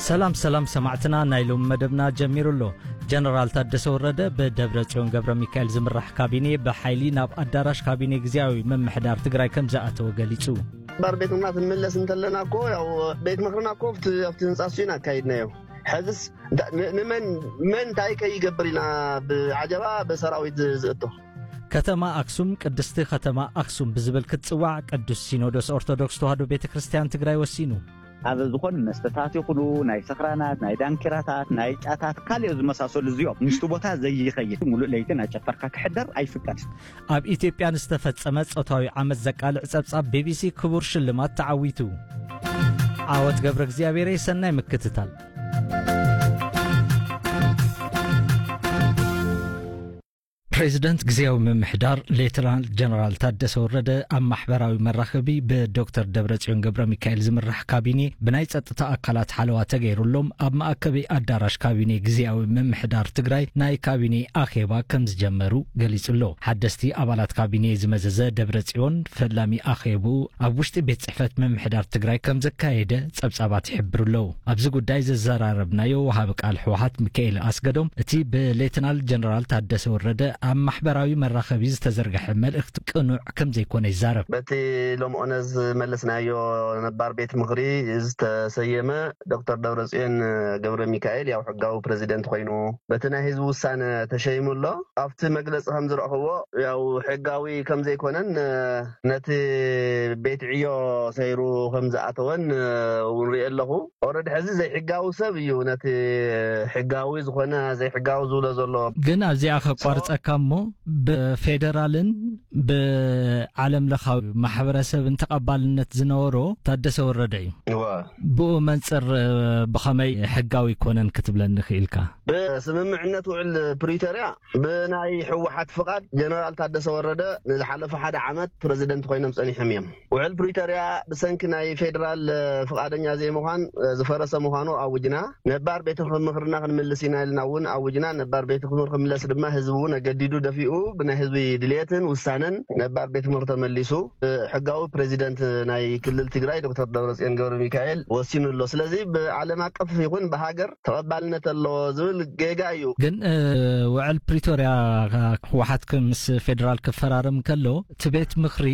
ሰላም ሰላም ሰማዕትና፣ ናይ ሎሚ መደብና ጀሚሩ ኣሎ። ጀነራል ታደሰ ወረደ ብደብረ ጽዮን ገብረ ሚካኤል ዝምራሕ ካቢኔ ብሓይሊ ናብ ኣዳራሽ ካቢኔ ግዝያዊ ምምሕዳር ትግራይ ከም ዝኣተወ ገሊጹ። ባር ቤትና ክንምለስ እንተለና እኮ፣ ያው፣ ቤት ምኽርና እኮ ኣብቲ ኣብቲ ህንጻ እሱ ኢና ኣካይድናዮ። ሕዝስ እንታ- ን- ንመን መን እንታይ ከይገብር ኢና ብዓጀባ ብሰራዊት ዝ- ዝእቶ? ከተማ ኣክሱም ቅድስቲ ከተማ ኣክሱም ብዝብል ክትጽዋዕ ቅዱስ ሲኖዶስ ኦርቶዶክስ ተዋህዶ ቤተ ክርስቲያን ትግራይ ወሲኑ። ኣብ ዝኾኑ መስተታት ይኹኑ ናይ ሰኽራናት፣ ናይ ዳንኪራታት፣ ናይ ጫታት፣ ካልኦ ዝመሳሰሉ እዚኦም፣ ምስቲ ቦታ ዘይኸይድ፣ ሙሉእ ለይቲ እናጨፈርካ ክሕደር ኣይፍቀድ። ኣብ ኢትዮጵያ ንዝተፈጸመ ጾታዊ ዓመጽ ዘቃልዕ ጸብጻብ ቢቢሲ ክቡር ሽልማት ተዓዊቱ። ዓወት ገብረ እግዚኣብሔረይ፣ ሰናይ ምክትታል። ፕሬዚደንት ግዜያዊ ምምሕዳር ሌተናል ጀነራል ታደሰ ወረደ ኣብ ማሕበራዊ መራኸቢ ብዶክተር ደብረጽዮን ገብረ ሚካኤል ዝምራሕ ካቢኔ ብናይ ጸጥታ ኣካላት ሓለዋ ተገይሩሎም ኣብ መኣከቢ ኣዳራሽ ካቢኔ ግዜያዊ ምምሕዳር ትግራይ ናይ ካቢኔ ኣኼባ ከም ዝጀመሩ ገሊጹ ኣሎ። ሓደስቲ ኣባላት ካቢኔ ዝመዘዘ ደብረጽዮን ፈላሚ ኣኼቡ ኣብ ውሽጢ ቤት ጽሕፈት ምምሕዳር ትግራይ ከም ዘካየደ ጸብጻባት ይሕብሩ ኣለዉ። ኣብዚ ጉዳይ ዘዘራረብናዮ ወሃቢ ቃል ህወሓት ሚካኤል ኣስገዶም እቲ ብሌተናል ጀነራል ታደሰ ወረደ ኣብ ማሕበራዊ መራኸቢ ዝተዘርግሐ መልእኽቲ ቅኑዕ ከም ዘይኮነ ይዛረብ። በቲ ሎምኦነ ዝመለስናዮ ነባር ቤት ምኽሪ ዝተሰየመ ዶክተር ደብረጽዮን ገብረ ሚካኤል ያው ሕጋዊ ፕሬዚደንት ኮይኑ በቲ ናይ ህዝቢ ውሳነ ተሸይሙ ኣሎ። ኣብቲ መግለጺ ከም ዝረእኽዎ ያው ሕጋዊ ከም ዘይኮነን ነቲ ቤት ዕዮ ሰይሩ ከም ዝኣተወን እውን ሪኤ ኣለኹ። ኦረድ ሕዚ ዘይሕጋዊ ሰብ እዩ ነቲ ሕጋዊ ዝኾነ ዘይሕጋዊ ዝብሎ ዘሎ። ግን ኣብዚኣ ከቋርጸካ እሞ ብፌደራልን ብዓለም ለኻዊ ማሕበረሰብን ተቐባልነት ዝነበሮ ታደሰ ወረደ እዩ። እወ። ብኡ መንጽር ብኸመይ ሕጋዊ ኣይኮነን ክትብለኒ ክኢልካ? ብስምምዕነት ውዕል ፕሪቶርያ ብናይ ህወሓት ፍቓድ ጀነራል ታደሰ ወረደ ንዝሓለፈ ሓደ ዓመት ፕረዚደንት ኮይኖም ጸኒሖም እዮም። ውዕል ፕሪቶርያ ብሰንኪ ናይ ፌደራል ፍቓደኛ ዘይምዃን ዝፈረሰ ምዃኑ ኣውጅና። ነባር ቤት ምኽርና ክንምልስ ኢና ኢልና እውን ኣውጅና። ነባር ቤት ምኽሪ ክምለስ ድማ ህዝቢ እውን ኣገዲዱ ደፊኡ ብናይ ህዝቢ ድልየትን ውሳነን ነባር ቤት ምኽሪ ተመሊሱ ሕጋዊ ፕረዚደንት ናይ ክልል ትግራይ ዶክተር ደብረጽዮን ገብረ ሚካኤል ወሲኑ ኣሎ። ስለዚ ብዓለም ኣቀፍ ይኹን ብሃገር ተቐባልነት ኣለዎ ዝብል ጌጋ እዩ። ግን ውዕል ፕሪቶርያ ህወሓት ምስ ፌደራል ክፈራረም ከሎ እቲ ቤት ምኽሪ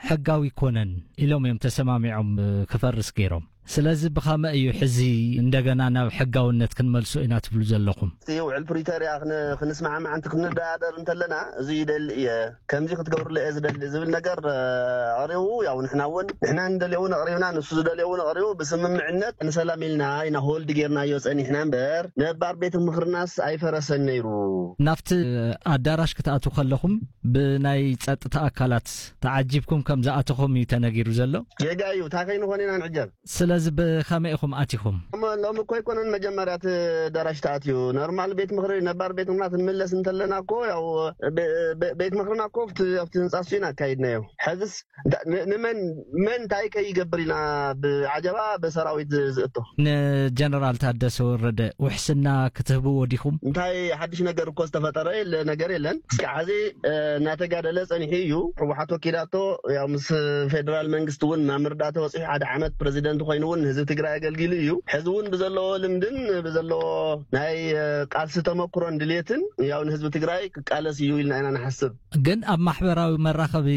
ሕጋዊ ኣይኮነን ኢሎም እዮም ተሰማሚዖም ክፈርስ ገይሮም። ስለዚ ብኸመይ እዩ ሕዚ እንደገና ናብ ሕጋውነት ክንመልሶ ኢና ትብሉ ዘለኹም? እቲ ውዕል ፕሪቶርያ ክን- ክንስማዕማዕ እንት ክንደራደር እንተለና እዚ ይደሊ እየ ከምዚ ክትገብርለ እየ ዝደሊ ዝብል ነገር ኣቕሪቡ፣ ያው ንሕና እውን ንሕና ንደልዮ እውን ኣቕሪብና ንሱ ዝደልዮ እውን ኣቕሪቡ ብስምምዕነት ንሰላም ኢልና ኢና ሆልድ ጌርናዮ ጸኒሕና እምበር ነባር ቤት ምኽርናስ ኣይፈረሰን ነይሩ። ናብቲ ኣዳራሽ ክትኣትዉ ከለኹም ብናይ ጸጥታ ኣካላት ተዓጂብኩም ከም ዝኣተኹም እዩ ተነጊሩ ዘሎ። ጌጋ እዩ። እንታይ ከይንኾን ኢና ንዕጀብ? ስለዚ ብኸመይ ኢኹም ኣቲኹም? ሎሚ እኮ ኣይኮነን መጀመርያ እቲ ኣዳራሽ ተኣትዩ። ኖርማል ቤት ምኽሪ ነባር ቤት ምኽርና ክንምለስ እንተለና እኮ ያው ቤት ምኽርና እኮ ኣብቲ ህንፃ እሱ ኢና ኣካይድናዮ። ሕዝስ ንመን መን እንታይ ከይገብር ኢና ብዓጀባ ብሰራዊት ዝእቶ? ንጀነራል ታደሰ ወረደ ውሕስና ክትህብዎ ዲኹም? እንታይ ሓድሽ ነገር እኮ ዝተፈጠረ የለ ነገር የለን። እስካብ ሕዚ እናተጋደለ ጸኒሑ እዩ። ህወሓት ወኪላቶ ያው ምስ ፌደራል መንግስቲ እውን ናብ ምርዳእ ተበፂሑ ሓደ ዓመት ፕረዚደንት ኮይኑ እውን ንህዝቢ ትግራይ ኣገልጊሉ እዩ። ሕዚ እውን ብዘለዎ ልምድን ብዘለዎ ናይ ቃልሲ ተመክሮን ድልየትን ያው ንህዝቢ ትግራይ ክቃለስ እዩ ኢልና ኢና ንሓስብ። ግን ኣብ ማሕበራዊ መራኸቢ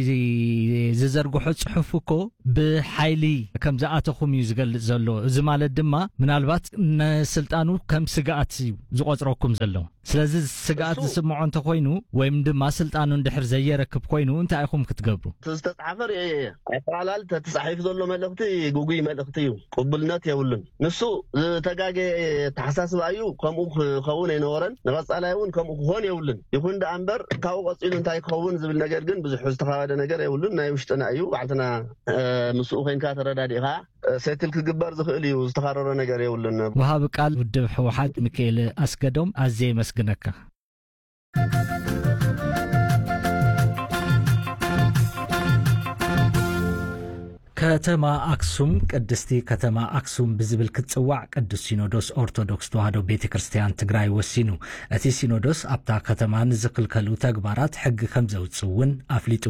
ዝዘርግሖ ጽሑፍ እኮ ብሓይሊ ከም ዝኣተኹም እዩ ዝገልጽ ዘሎ። እዚ ማለት ድማ ምናልባት ንስልጣኑ ከም ስግኣት እዩ ዝቖጽረኩም ዘሎ። ስለዚ ስግኣት ዝስምዖ እንተኾይኑ ወይም ድማ ስልጣኑ እንድሕር ዘየረክብ ኮይኑ እንታይ ኢኹም ክትገብሩ? እቲ ዝተጻሓፈ ርእየ እየ። ኣጠቓላል ተተጻሒፉ ዘሎ መልእኽቲ ግጉይ መልእኽቲ እዩ። ቅቡልነት የብሉን። ንሱ ዝተጋገየ ኣተሓሳስባ እዩ። ከምኡ ክኸውን ኣይነበረን። ንቐጻላይ እውን ከምኡ ክኾን የብሉን። ይኹን ደኣ እምበር ካብኡ ቀጺሉ እንታይ ክኸውን ዝብል ነገር ግን ብዙሕ ዝተኻበደ ነገር የብሉን። ናይ ውሽጥና እዩ። ባዕልትና ምስኡ ኮይንካ ተረዳዲእኻ ሴትል ክግበር ዝኽእል እዩ። ዝተኻረረ ነገር የብሉን። ወሃቢ ቃል ውድብ ህወሓት ሚካኤል ኣስገዶም ኣዝየ የመስግነካ። ከተማ ኣክሱም ቅድስቲ ከተማ ኣክሱም ብዝብል ክትጽዋዕ ቅዱስ ሲኖዶስ ኦርቶዶክስ ተዋህዶ ቤተ ክርስቲያን ትግራይ ወሲኑ። እቲ ሲኖዶስ ኣብታ ከተማ ንዝኽልከሉ ተግባራት ሕጊ ከም ዘውጽእ እውን ኣፍሊጡ።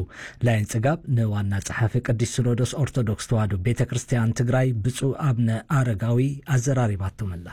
ላይን ጽጋብ ንዋና ጸሓፊ ቅዱስ ሲኖዶስ ኦርቶዶክስ ተዋህዶ ቤተ ክርስቲያን ትግራይ ብፁዕ ኣብነ ኣረጋዊ ኣዘራሪባቶም ኣላ።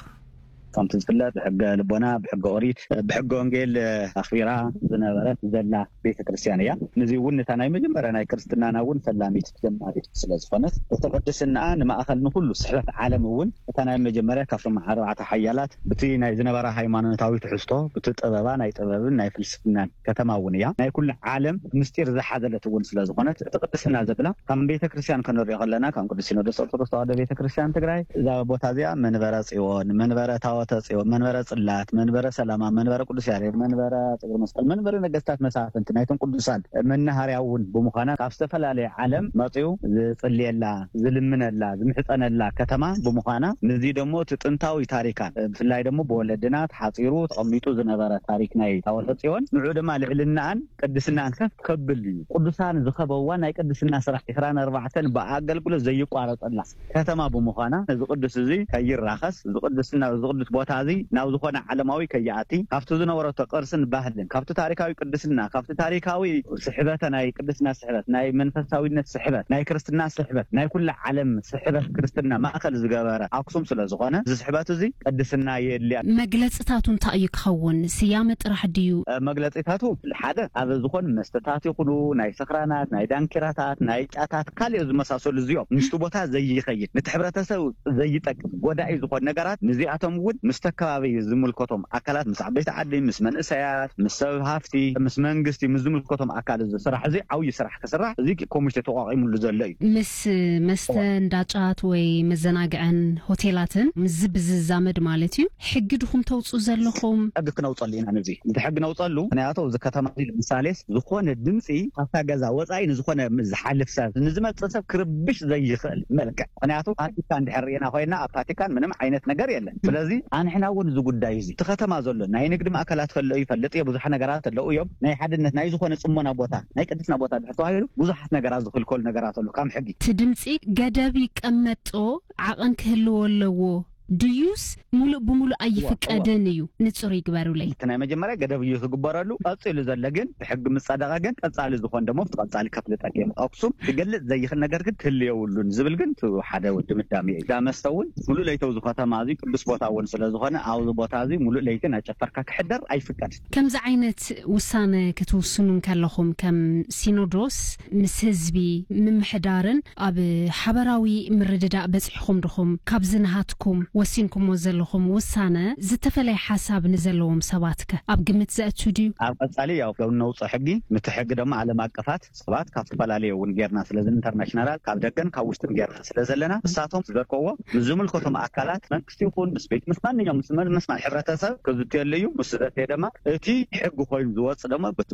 ከምቲ ዝፍለጥ ብሕገ ልቦና፣ ብሕገ ኦሪት፣ ብሕገ ወንጌል ኣኽቢራ ዝነበረት ዘላ ቤተ ክርስቲያን እያ። ነዚ እውን ነታ ናይ መጀመርያ ናይ ክርስትናና እውን ፈላሚት ጀማሪት ስለ ዝኾነት እቲ ቅድስናኣ ንማእኸል ንኹሉ ስሕበት ዓለም እውን እታ ናይ መጀመርያ ካብቶም ኣርባዕተ ሓያላት ብቲ ናይ ዝነበራ ሃይማኖታዊ ትሕዝቶ ብቲ ጥበባ ናይ ጥበብን ናይ ፍልስፍናን ከተማ እውን እያ። ናይ ኩሉ ዓለም ምስጢር ዝሓዘለት እውን ስለ ዝኾነት እቲ ቅድስና ዘብላ ከም ቤተ ክርስቲያን ክንሪኦ ከለና ከም ቅዱስ ሲኖዶስ ኦርቶዶክስ ተዋህዶ ቤተ ክርስቲያን ትግራይ እዛ ቦታ እዚኣ መንበረ ጽዮን፣ መንበረ ታወተ ጽዮን፣ መንበረ ጽላት፣ መንበረ ሰላማ፣ መንበረ ቅዱስ ያሬድ፣ መንበረ ጽግር መስቀል፣ መንበረ ነገስታት መሳፍንቲ ናይቶም ቅዱሳን መናሃርያ እውን ብምዃና ካብ ዝተፈላለየ ዓለም መጽኡ ዝጽልየላ፣ ዝልምነላ፣ ዝምሕጸነላ ከተማ ብምዃና፣ ነዚ ደሞ እቲ ጥንታዊ ታሪካን ብፍላይ ደሞ ብወለድና ተሓጺሩ ተቐሚጡ ዝነበረ ታሪክ ናይ ታወተ ጽዮን ንዑ ድማ ልዕልናኣን ቅድስናን ከፍ ከብል እዩ። ቅዱሳን ዝኸበዋ ናይ ቅድስና ስራሕ ዕስራን ኣርባዕተን ብኣገልግሎት ዘይቋረጸላ ከተማ ብምዃና፣ እዚ ቅዱስ እዚ ከይራኸስ፣ እዚ ቅዱስና፣ እዚ ቅዱስ ቦታ እዚ ናብ ዝኾነ ዓለማዊ ከይኣቲ፣ ካብቲ ዝነበረቶ ቅርስን ባህልን፣ ካብቲ ታሪካዊ ቅድስና፣ ካብቲ ታሪካዊ ስሕበተ ናይ ቅድስና ስሕበት፣ ናይ መንፈሳዊነት ስሕበት፣ ናይ ክርስትና ስሕበት፣ ናይ ኩላ ዓለም ስሕበት ክርስትና ማእከል ዝገበረ ኣክሱም ስለ ዝኾነ፣ እዚ ስሕበት እዚ ቅድስና የድልያ። መግለጽታቱ እንታይ እዩ ክኸውን? ስያመ ጥራሕ ድዩ? እ፣ መግለጺታቱ ሓደ ኣብ ዝኾን መስተታት ይኹኑ፣ ናይ ሰኽራናት፣ ናይ ዳንኪራታት፣ ናይ ጫታት፣ ካልኦ ዝመሳሰሉ እዚኦም ምስቲ ቦታ ዘይኸይድ፣ ነቲ ሕብረተሰብ ዘይጠቅም፣ ጎዳኢ ዝኾን ነገራት፣ ንዚኣቶም እውን ምስቲ ኣከባቢ ዝምልከቶም ኣካላት፣ ምስ ዓበይቲ ዓዲ፣ ምስ መንእሰያት፣ ምስ ሰብ ሃፍቲ፣ ምስ መንግስቲ፣ ምስ ዝምልከቶም ኣካል እዚ ስራሕ እዚ ዓብዪ ስራሕ ክስራሕ እዚ ኮሚቴ ተቋቒሙሉ ዘሎ እዩ። ምስ መስተ እዋ። እንዳ ጫት ወይ መዘናግዕን ሆቴላትን ምስዚ ብዝዛመድ ማለት እዩ። ሕጊ ድኹም ተውፅኡ ዘለኹም? ሕጊ ክነውፀሉ ኢና። ነዚ እቲ ሕጊ ነውፀሉ፣ ምክንያቱ እዚ ከተማ እዚ ንምሳሌስ ዝኾነ ድምፂ ካብታ ገዛ ወፃኢ ንዝኾነ ዝሓልፍ ሰብ፣ ንዝመፅእ ሰብ ክርብሽ ዘይኽእል መልክዕ። ምክንያቱ ቫቲካን እንድሕር ርኢና ኮይና ኣብ ቫቲካን ምንም ዓይነት ነገር የለን። ስለዚ ኣንሕና እውን እዚ ጉዳይ እዚ እቲ ከተማ ዘሎ ናይ ንግዲ ማእከላት ከሎ ይፈልጥ እየ፣ ብዙሕ ነገራት ኣለዉ እዮም። ናይ ሓድነት ናይ ዝኾነ ጽሞና ቦታ፣ ናይ ቅድስና ቦታ ድሕር ተባሂሉ ብዙሓት ነገራት ዝኽልከሉ ነገራት ኣለዉ ካብ ሕጊ። እቲ ድምፂ ገደብ ይቀመጦ፣ ዓቐን ክህልዎ ኣለዎ ድዩስ ሙሉእ ብሙሉእ ኣይፍቀድን እዩ? ንጹር ይግበሩለይ። እቲ ናይ መጀመርያ ገደብ እዩ ዝግበረሉ። ቀጺሉ ዘሎ ግን ብሕጊ ምስ ጸደቐ ግን ቀጻሊ ዝኾን ደሞ ኣብቲ ቀጻሊ ከፍልጠክ እየ። ኣክሱም ክገልጽ ዘይኽእል ነገር ግን ክህሉ የብሉን ዝብል ግን እቲ ሓደ ድምዳሜ እዩ። ዳመስተ እውን ሙሉእ ለይቲ ኣብዚ ከተማ እዚ ቅዱስ ቦታ እውን ስለ ዝኾነ ኣብዚ ቦታ እዚ ሙሉእ ለይቲ እናጨፈርካ ክሕደር ኣይፍቀድን። ከምዚ ዓይነት ውሳነ ክትውስኑ እንከለኹም ከም ሲኖዶስ ምስ ህዝቢ ምምሕዳርን ኣብ ሓበራዊ ምርድዳእ በጺሕኹም ድኹም? ካብዚ ናሃትኩም ወሲንኩሞ ዘለኹም ውሳነ ዝተፈለየ ሓሳብ ንዘለዎም ሰባት ከ ኣብ ግምት ዘእቱ ድዩ? ኣብ ቀጻሊ ያው ነውጽኦ ሕጊ፣ ምቲ ሕጊ ድማ ዓለም ኣቀፋት ሰባት ካብ ዝተፈላለዩ እውን ጌርና፣ ስለዚ ኢንተርናሽናላት ካብ ደገን ካብ ውሽጥን ጌርና ስለ ዘለና ንሳቶም ዝዘርግዎ ምስ ዝምልከቶም ኣካላት መንግስቲ ይኹን ምስ ቤት ምስ ማንኛውም ምስ መን ምስ ማን ሕብረተሰብ ክዝትየሉ እዩ። ምስ ዘትየ ድማ እቲ ሕጊ ኮይኑ ዝወጽእ ድማ በቲ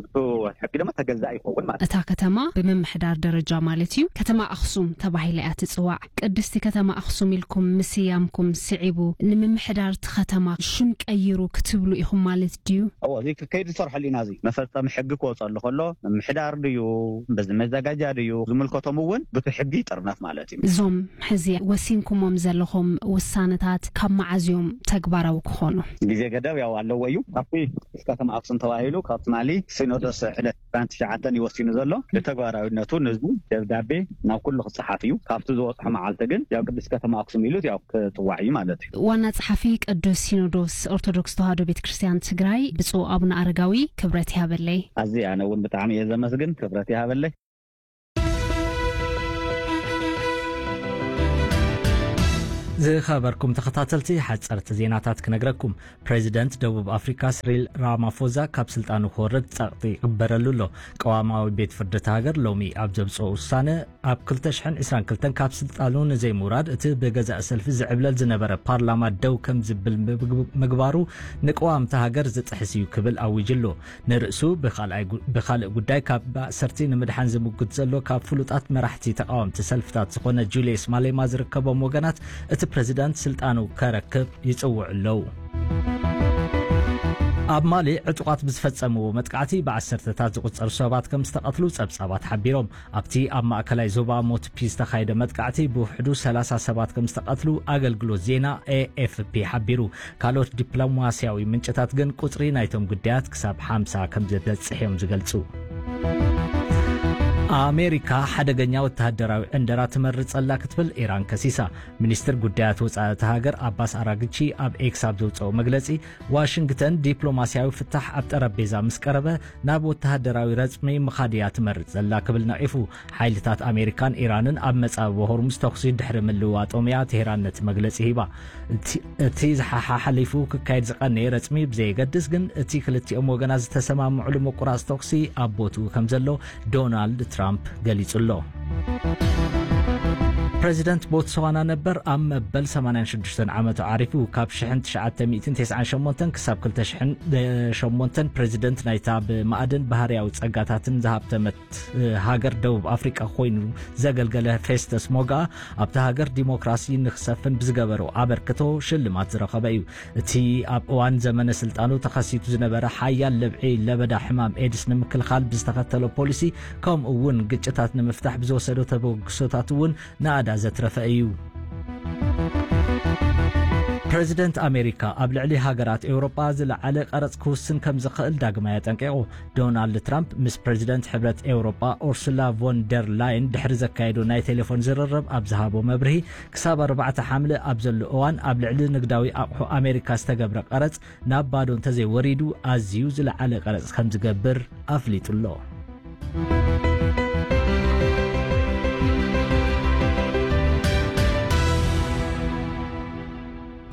ሕጊ ድማ ተገዛኢ ይኸውን ማለት እዩ። እታ ከተማ ብምምሕዳር ደረጃ ማለት እዩ ከተማ ኣኽሱም ተባሂላ እያ ትጽዋዕ። ቅድስቲ ከተማ ኣኽሱም ኢልኩም ምስያምኩም ስዒቡ ንምምሕዳር እቲ ከተማ ሽም ቀይሩ ክትብሉ ኢኹም ማለት ድዩ? እዎ፣ እዚ ክከይድ ዝሰርሐሉ ኢና። እዚ መፈጸሚ ሕጊ ክወጸሉ ከሎ ምምሕዳር ድዩ፣ በዚ መዘጋጃ ድዩ፣ ዝምልከቶም እውን ብቲ ሕጊ ይጥርነፍ ማለት እዩ። እዞም ሕዚ ወሲንኩሞም ዘለኹም ውሳነታት ካብ መዓዝ እዮም ተግባራዊ ክኾኑ? ግዜ ገደብ ያው ኣለዎ እዩ። ካብቲ ከተማ ኣክሱም ተባሂሉ ካብ ትማሊ ሲኖዶስ ዕለት ዕስራን ትሽዓተን እዩ ወሲኑ ዘሎ። ንተግባራዊነቱ ንህዝቡ ደብዳቤ ናብ ኩሉ ክጸሓፍ እዩ። ካብቲ ዝወጽሖ መዓልቲ ግን ያው ቅድስት ከተማ ኣክሱም ኢሉ ያው ክጽዋዕ እዩ ማለት እዩ። ዋና ጸሓፊ ቅዱስ ሲኖዶስ ኦርቶዶክስ ተዋህዶ ቤተ ክርስቲያን ትግራይ ብፁዕ ኣቡነ ኣረጋዊ ክብረት ይሃበለይ። ኣዝየ ኣነ እውን ብጣዕሚ እየ ዘመስግን፣ ክብረት ይሃበለይ። ዝኸበርኩም ተኸታተልቲ፣ ሓጸርቲ ዜናታት ክነግረኩም። ፕሬዚደንት ደቡብ ኣፍሪካ ስሪል ራማፎዛ ካብ ስልጣኑ ክወርድ ጸቕጢ ይግበረሉ ኣሎ። ቀዋማዊ ቤት ፍርዲ እታ ሃገር ሎሚ ኣብ ዘብጽኦ ውሳነ፣ ኣብ ክልተ ሽሕን ዕስራን ክልተን ካብ ስልጣኑ ንዘይምውራድ እቲ ብገዛእ ሰልፊ ዝዕብለል ዝነበረ ፓርላማ ደው ከም ዝብል ምግብ-፣ ምግባሩ ንቅዋም እታ ሃገር ዝጥሕስ እዩ ክብል ኣዊጁ ኣሎ። ንርእሱ ብኻልኣይ ጉ-፣ ብኻልእ ጉዳይ ካብ ማእሰርቲ ንምድሓን ዝምጉት ዘሎ ካብ ፍሉጣት መራሕቲ ተቓወምቲ ሰልፍታት ዝኾነ ጁልየስ ማሌማ ዝርከቦም ወገናት እቲ ፕሬዚዳንት ስልጣኑ ከረክብ ይጽውዑ ኣለዉ። ኣብ ማሊ ዕጡቓት ብዝፈጸምዎ መጥቃዕቲ ብዓሰርተታት ዝቑጸሩ ሰባት ከም ዝተቐትሉ ጸብጻባት ሓቢሮም። ኣብቲ ኣብ ማእከላይ ዞባ ሞትፒ ዝተኻየደ መጥቃዕቲ ብውሕዱ ሰላሳ ሰባት ከም ዝተቐትሉ ኣገልግሎት ዜና ኤ ኤፍ ፒ ሓቢሩ። ካልኦት ዲፕሎማስያዊ ምንጭታት ግን ቁጽሪ ናይቶም ግዳያት ክሳብ ሓምሳ ከም ዝበጽሕ እዮም ዝገልጹ። ኣሜሪካ ሓደገኛ ወተሃደራዊ ዕንደራ ትመርጽ ኣላ ክትብል ኢራን ከሲሳ። ሚኒስትር ጉዳያት ወጻኢ እታ ሃገር ኣባስ ኣራግቺ ኣብ ኤክስ ኣብ ዘውጽኦ መግለጺ፣ ዋሽንግተን ዲፕሎማስያዊ ፍታሕ ኣብ ጠረጴዛ ምስ ቀረበ ናብ ወተሃደራዊ ረጽሚ ምኻድ እያ ትመርጽ ዘላ ክብል ነቒፉ። ሓይልታት ኣሜሪካን ኢራንን ኣብ መጻብቦ ሆርሙዝ ተኹሲ ድሕሪ ምልውዋጦም እያ ቴህራን ነቲ መግለጺ ሂባ። እቲ፣ እቲ ዝሓሓ ሓሊፉ ክካየድ ዝቐነየ ረጽሚ ብዘየገድስ ግን እቲ ክልቲኦም ወገናት ዝተሰማምዑሉ ምቁራጽ ተኹሲ ኣብ ቦትኡ ከም ዘሎ ዶናልድ ትራምፕ ገሊጹ ኣሎ። ፕረዚደንት ቦትስዋና ነበር ኣብ መበል ሰማንያን ሽዱሽተን ዓመቱ ዓሪፉ። ካብ ሽሕን ትሽዓተ ሚእትን ተስዓን ሸሞንተን ክሳብ ክልተ ሽሕን ሸሞንተን ፕረዚደንት ናይታ ብማእድን ባህርያዊ ጸጋታትን ዝሃብተመት ሃገር ደቡብ ኣፍሪቃ ኮይኑ ዘገልገለ ፌስተስ ሞጋ ኣብታ ሃገር ዲሞክራሲ ንክሰፍን ብዝገበሮ ኣበርክቶ ሽልማት ዝረኸበ እዩ። እቲ ኣብ እዋን ዘመነ ስልጣኑ ተኸሲቱ ዝነበረ ሓያል ለብዒ ለበዳ ሕማም ኤድስ ንምክልኻል ብዝተኸተሎ ፖሊሲ፣ ከምኡ እውን ግጭታት ንምፍታሕ ብዝወሰዶ ተበግሶታት እውን ናእዳ ዘትረፈ እዩ። ፕረዚደንት ኣሜሪካ ኣብ ልዕሊ ሃገራት ኤውሮጳ ዝለዓለ ቀረጽ ክውስን ከም ዝኽእል ዳግማይ ኣጠንቂቑ። ዶናልድ ትራምፕ ምስ ፕረዚደንት ሕብረት ኤውሮጳ ኡርሱላ ቮን ደር ላየን ድሕሪ ዘካየዶ ናይ ቴሌፎን ዝርርብ ኣብ ዝሃቦ መብርሂ፣ ክሳብ ኣርባዕተ ሓምለ ኣብ ዘሎ እዋን ኣብ ልዕሊ ንግዳዊ ኣቑሑ ኣሜሪካ ዝተገብረ ቀረጽ ናብ ባዶ እንተዘይወሪዱ ኣዝዩ ዝለዓለ ቀረጽ ከም ዝገብር ኣፍሊጡ ኣሎ።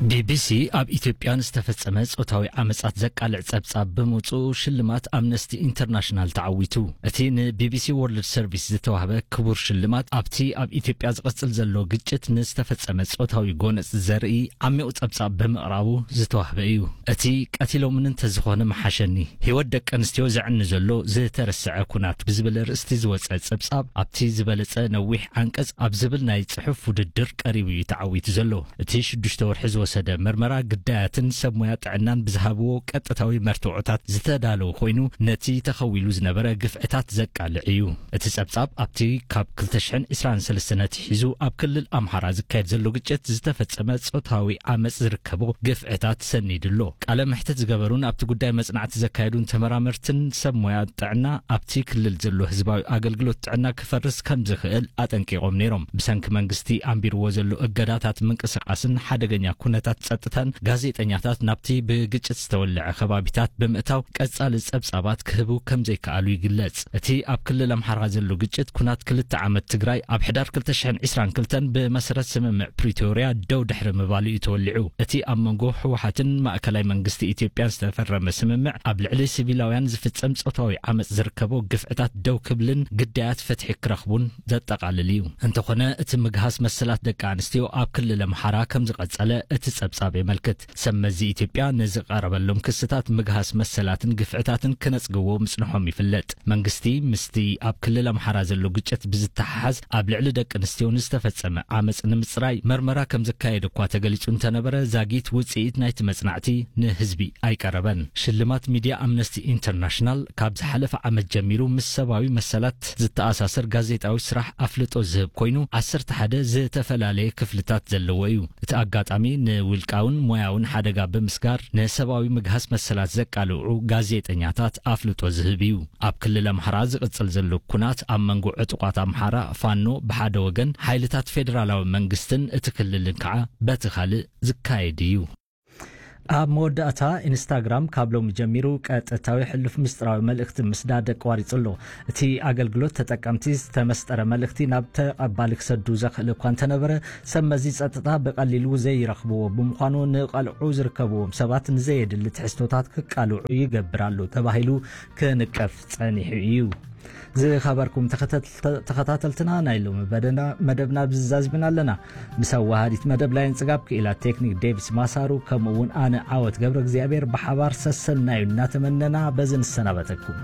ቢ ቢ ሲ ኣብ ኢትዮጵያ ንዝተፈጸመ ጾታዊ ዓመጻት ዘቃልዕ ጸብጻብ ብምውጽኡ ሽልማት ኣምነስቲ ኢንተርናሽናል ተዓዊቱ። እቲ ን ቢ ቢ ሲ ወርልድ ሰርቪስ ዝተዋህበ ክቡር ሽልማት ኣብቲ ኣብ ኢትዮጵያ ዝቕጽል ዘሎ ግጭት ንዝተፈጸመ ጾታዊ ጎነጽ ዘርኢ ዓሚቕ ጸብጻብ ብምቕራቡ ዝተዋህበ እዩ። እቲ ቀቲሎምኒ እንተዝኾነ ምሓሸኒ፣ ህይወት ደቂ ኣንስትዮ ዘዕኒ ዘሎ ዝተረስዐ ኩናት ብዝብል ኣርእስቲ ዝወጸ ጸብጻብ ኣብቲ ዝበለጸ ነዊሕ ዓንቀጽ ኣብ ዝብል ናይ ጽሑፍ ውድድር ቀሪቡ እዩ ተዓዊቱ ዘሎ። እቲ ሽዱሽተ ወርሒ ዝወሰደ መርመራ ግዳያትን ሰብ ሞያ ጥዕናን ብዝሃብዎ ቀጥታዊ መርትዖታት ዝተዳለወ ኮይኑ ነቲ ተኸዊሉ ዝነበረ ግፍዕታት ዘቃልዕ እዩ። እቲ ጸብጻብ ኣብቲ ካብ ክልተ ሽሕን ዕስራን ሰለስተን ኣትሒዙ ኣብ ክልል ኣምሓራ ዝካየድ ዘሎ ግጭት ዝተፈጸመ ጾታዊ ዓመጽ ዝርከቦ ግፍዕታት ሰኒዱ ኣሎ። ቃለ መሕትት ዝገበሩን ኣብቲ ጉዳይ መጽናዕቲ ዘካየዱን ተመራመርትን ሰብ ሞያ ጥዕና ኣብቲ ክልል ዘሎ ህዝባዊ ኣገልግሎት ጥዕና ክፈርስ ከም ዝኽእል ኣጠንቂቖም ነይሮም። ብሰንኪ መንግስቲ ኣንቢርዎ ዘሎ እገዳታት ምንቅስቓስን ሓደገኛ ኩነታት ጸጥታን ጋዜጠኛታት ናብቲ ብግጭት ዝተወልዐ ከባቢታት ብምእታው ቀጻሊ ጸብጻባት ክህቡ ከም ዘይከኣሉ ይግለጽ። እቲ ኣብ ክልል ኣምሓራ ዘሎ ግጭት ኩናት ክልተ ዓመት ትግራይ ኣብ ሕዳር ክልተ ሽሕን ዕስራን ክልተን ብመሰረት ስምምዕ ፕሪቶርያ ደው ድሕሪ ምባሉ እዩ ተወሊዑ። እቲ ኣብ መንጎ ህወሓትን ማእከላይ መንግስቲ ኢትዮጵያን ዝተፈረመ ስምምዕ ኣብ ልዕሊ ሲቪላውያን ዝፍጸም ጾታዊ ዓመጽ ዝርከቦ ግፍዕታት ደው ክብልን ግዳያት ፍትሒ ክረኽቡን ዘጠቓልል እዩ። እንተኾነ እቲ ምግሃስ መሰላት ደቂ ኣንስትዮ ኣብ ክልል ኣምሓራ ከም ዝቐጸለ እቲ ጸብጻብ የመልክት። ሰብ መዚ ኢትዮጵያ ንዝቐረበሎም ክስታት ምግሃስ መሰላትን ግፍዕታትን ክነጽግዎ ምጽንሖም ይፍለጥ። መንግስቲ ምስቲ ኣብ ክልል ኣምሓራ ዘሎ ግጭት ብዝተሓሓዝ ኣብ ልዕሊ ደቂ ኣንስትዮ ንዝተፈጸመ ዓመጽ ንምጽራይ መርመራ ከም ዘካየደ እኳ ተገሊጹ እንተነበረ፣ ዛጊት ውጽኢት ናይቲ መጽናዕቲ ንህዝቢ ኣይቀረበን። ሽልማት ሚድያ ኣምነስቲ ኢንተርናሽናል ካብ ዝሓለፈ ዓመት ጀሚሩ ምስ ሰብኣዊ መሰላት ዝተኣሳሰር ጋዜጣዊ ስራሕ ኣፍልጦ ዝህብ ኮይኑ፣ ዓሰርተ ሓደ ዝተፈላለየ ክፍልታት ዘለዎ እዩ። እቲ ኣጋጣሚ ንውልቃውን ሞያውን ሓደጋ ብምስጋር ንሰብኣዊ ምግሃስ መሰላት ዘቃልዑ ጋዜጠኛታት ኣፍልጦ ዝህብ እዩ። ኣብ ክልል ኣምሓራ ዝቕጽል ዘሎ ኩናት ኣብ መንጎ ዕጡቓት ኣምሓራ ፋኖ ብሓደ ወገን፣ ሓይልታት ፌደራላዊ መንግስትን እቲ ክልልን ከዓ በቲ ካልእ ዝካየድ እዩ። ኣብ መወዳእታ፣ ኢንስታግራም ካብ ሎሚ ጀሚሩ ቀጥታዊ ሕሉፍ ምስጢራዊ መልእኽቲ ምስዳድ ኣቋሪጹ ኣሎ። እቲ ኣገልግሎት ተጠቀምቲ ዝተመስጠረ መልእኽቲ ናብ ተቐባሊ ክሰዱ ዘኽእል እኳ እንተነበረ፣ ሰብ መዚ ጸጥታ ብቐሊሉ ዘይረኽብዎ ብምዃኑ ንቐልዑ ዝርከብዎም ሰባት ንዘየድሊ ትሕዝቶታት ክቃልዑ ይገብር ኣሎ ተባሂሉ ክንቀፍ ጸኒሑ እዩ። ዝኸበርኩም ተኸተልተ-፣ ተኸታተልትና፣ ናይ ሎሚ በደና-፣ መደብና ብዝዛዝምና ኣለና። ምስ ኣዋሃዲት መደብ ላይን ጽጋብ ክኢላ ቴክኒክ ዴቪስ ማሳሩ፣ ከምኡ እውን ኣነ ዓወት ገብረ እግዚኣብሔር ብሓባር ሰሰናዩ እናተመነና በዚ ንሰናበተኩም።